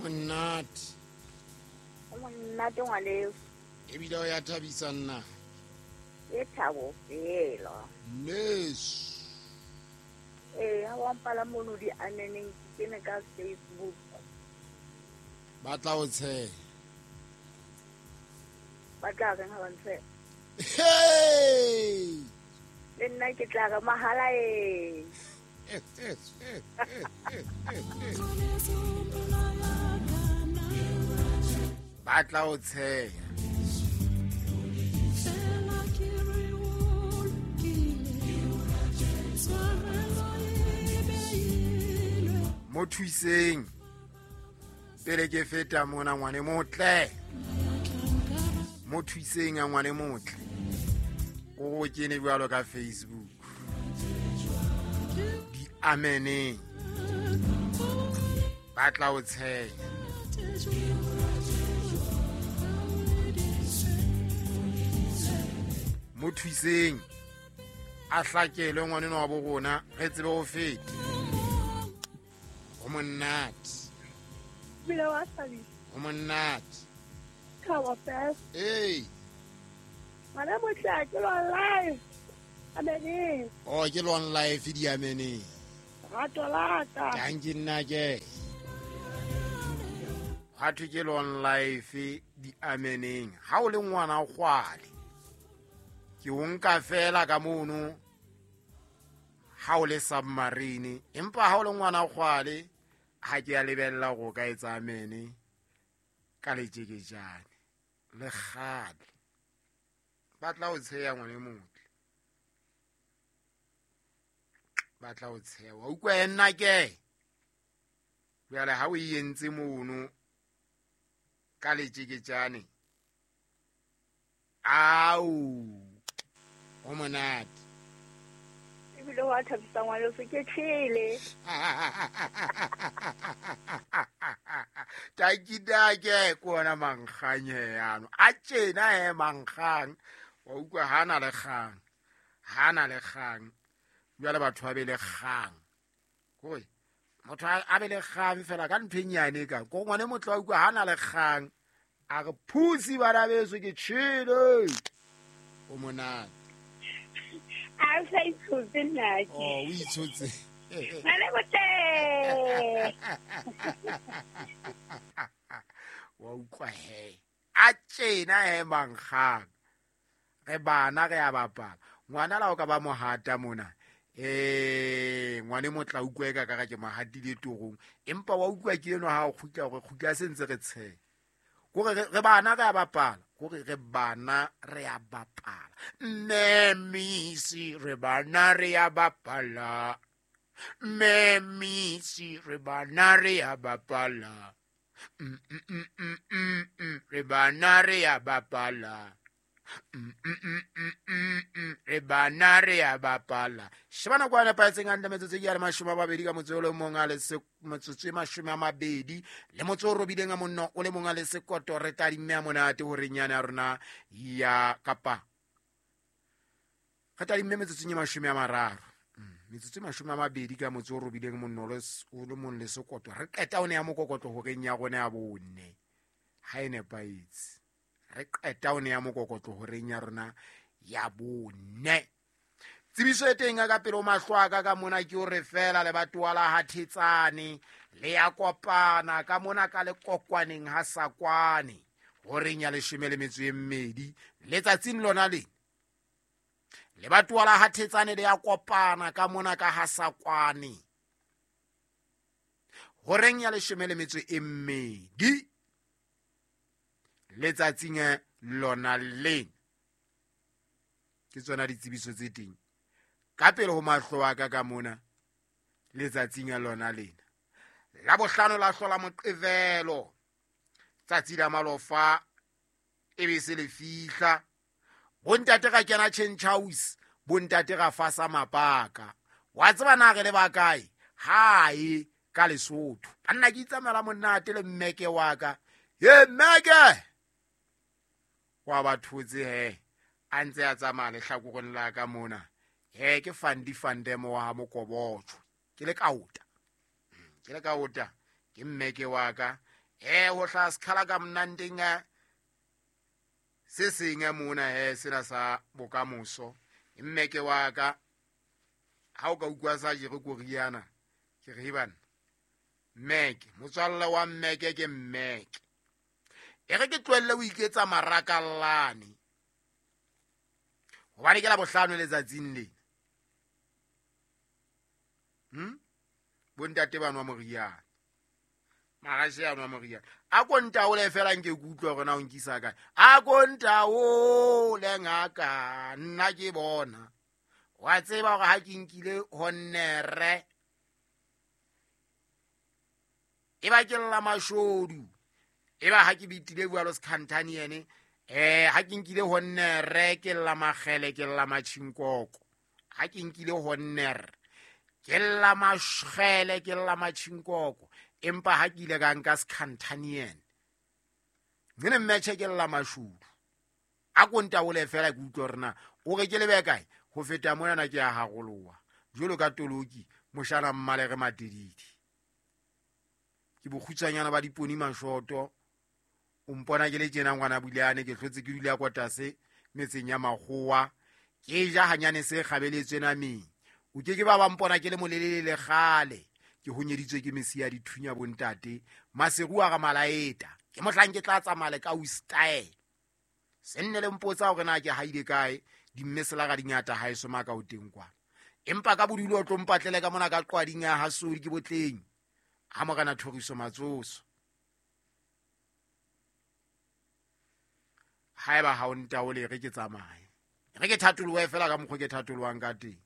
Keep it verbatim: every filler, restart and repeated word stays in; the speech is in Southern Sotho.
Monate. O monate ngwaneso. Ebile o ya thabisa nna. Ke thabo fela. Yes. Eh, ha wa mpala mono di aneneng ke kene ka Facebook. Ba tla o tsheha. Ba tla reng ha ba ntsheha? Hey! Le nna ke tla re mahala e. Ba tla o tsheha. Mo thuiseng pele ke feta mona ngwane motle. Mo thuiseng a ngwane motle. O kene jwalo ka Facebook. Di ameneng. Ba tla o tsheha. Mo thuiseng a hlakelwe ngwane wa bo rona re tsebe ho feta. O monate. Bila wa thabisa. O monate. Thabo fela. Hey. Ngwana motle ke lo live. Ameneng. Oh ke lo live di ameneng. Rato la ka. Thank you nna ke. Ha thwe ke lo live di ameneng. Ha o le ngwana kgwale. Ke o nka fela ka mono. Ha o le submarine empa ha o le ngwana kgwale ha ke a lebella go ka etsa amene ka letjekejane le kgale ba tla o tsheya ngwane motle ba tla o tsheya wa utlwa nna ke jwale ha o entse mono ka letjekejane au o monate. Ebile wa thabisa ngwaneso ke tshele. Takidake ke ona mankganye yano. A tjena he mankgang. Wa utlwa ha na le kgang. Ha na le kgang. Jwale batho ba be le kgang. Kore motho a be le kgang fela ka ntho e nyane ka. Ko ngwane motho wa utlwa ha na le kgang. A re phusi bana beso ke tshele. O monate. A sa itshotse nna ke. Oh, o itshotse. Ngwane motle. Wa utlwa he. A tjena he mankgang. Re bana re a bapala. Ngwana la o ka ba mohata mona. Eh, ngwane motla utlwe ka ka ke mohatile torong. Empa wa utlwa ke eno ha o kgutla hore kgutla se ntse re tsheha. Kore re bana re a bapala. Kore re bana re a bapala. Mmemisi re bana re a bapala. Mmemisi re bana re a bapala. Mm mm mm mm mm re bana re a bapala. Mm mm mm mm mm re bana re a bapala. Shebana kwa nepahetseng hantle metsotso e ya mashome a mabedi ka motso o le mong a le metsotso e mashome a mabedi le motso o robileng a monno o le mong a le sekoto re tadimme a monate hore nyane ya rona ya kapa re tadimme metsotso e mashome a mararo metsotso e mashome a mabedi ka motso o robileng monno o le mong le sekoto re qeta o ne ya mokokotlo horeng ya rona ya bone ha e nepahetse re qeta o ne ya mokokotlo horeng ya rona ya bone. Tsebiso e teng ka pele o mahlo a ka ka mona ke o re fela le batoa la ha Thetsane le ya kopana ka mona ka le kokwaneng ha Sakwane horeng ya leshome le metso e mmedi letsatsing lona le le batoa la ha Thetsane le ya kopana ka mona ka ha Sakwane horeng ya leshome le metso e mmedi letsatsing lona le. Ke tsona ditsebiso tse teng ka pele ho mahlo a ka ka mona letsatsing lona lena la bohlano la hlola Moqebelo tsatsi la malofa e be se le fihla bontate ka kena change house bontate ra fasa mapaka wa tseba na re le ba kae hae ka Lesotho banna ke itsamela monate le mmeke wa ka ye mmeke wa ba thotse he a ntse a tsamaya lehlakoreng la ka mona he ke Fandi Fandemo wa ha Mokobotjho ke le kaota ke le kaota ke mmeke wa ka Eh ho hlaha sekgala ka mnandeng se seng mona he sena sa bokamoso. Mmeke wa ka ha o ka utlwa sa jere koriana ke re bana mmeke motswalla wa mmeke ke mmeke. E re ke tlohelle o iketsa marakallane hobane ke la bohlano letsatsing lena. Hm bontate ba nwa moriana, marashe a nwa moriana. A ko ntaole fela nke ke utlwe hore na o nkisa kae. A ko ntaole ngaka nna ke bona. Wa tseba hore ha ke nkile honnere e ba ke lla mashodu, e ba ha ke bitile jwalo sekhantane yene. Eh ha ke nkile honnere ke lla makgele ke lla matjhinkoko. Ha ke nkile honnere ke lla mashgele ke lla matjhinkoko. Empa ha ke ile ka nka sekhantane ngene mmetjhe ke lla mashodu. A ko ntaole fela ke utlwe hore na o re ke lebe kae. Ho feta mona na ke a haroloha jwalo ka toloki moshana mmalere matedidi. Ke bokgutshwanyana ba diponi mashoto. O mpona ke le tjena ngwana Buleane ke hlotse ke dula kwatase metseng ya makgowa ke ja hanyane se kgabeletswe nameng. O ke ke ba ba mpona ke le molelele le kgale ke honyeditswe ke mesi ya dithunya bontate maseru a ga malaeta. Ke mohlang ke tla tsamaya le ka u style se nne le mpotsa hore na ke haile kae. Dimmesela ga dingata ha eso maka o teng kwa. Empa ka bodulo o tlo mpatlele ka mona ka qwading ya hasodi ke botleng ha morena Thoriso Matsoso. Haeba ha o ntaole re ke tsamaye, re ke thatolowe fela ka mokgwa ke thatolowang ka teng.